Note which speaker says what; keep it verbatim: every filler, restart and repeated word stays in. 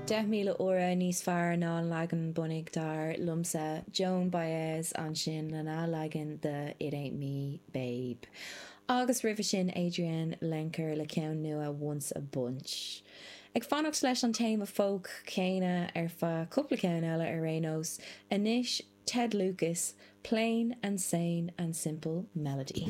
Speaker 1: Deich míle uair níos fearr ná an leagan bunaidh dar liomsa Joan Baez ansin lena leagan de It Ain't Me Babe. Agus roimhe sin Adrianne Lenker le ceann nua Once a Bunch. Ag fanacht leis an téama folk céanna ar feadh cúpla ceann eile ar aon nós, anois Ted Lucas, Plain and Sane and Simple Melody.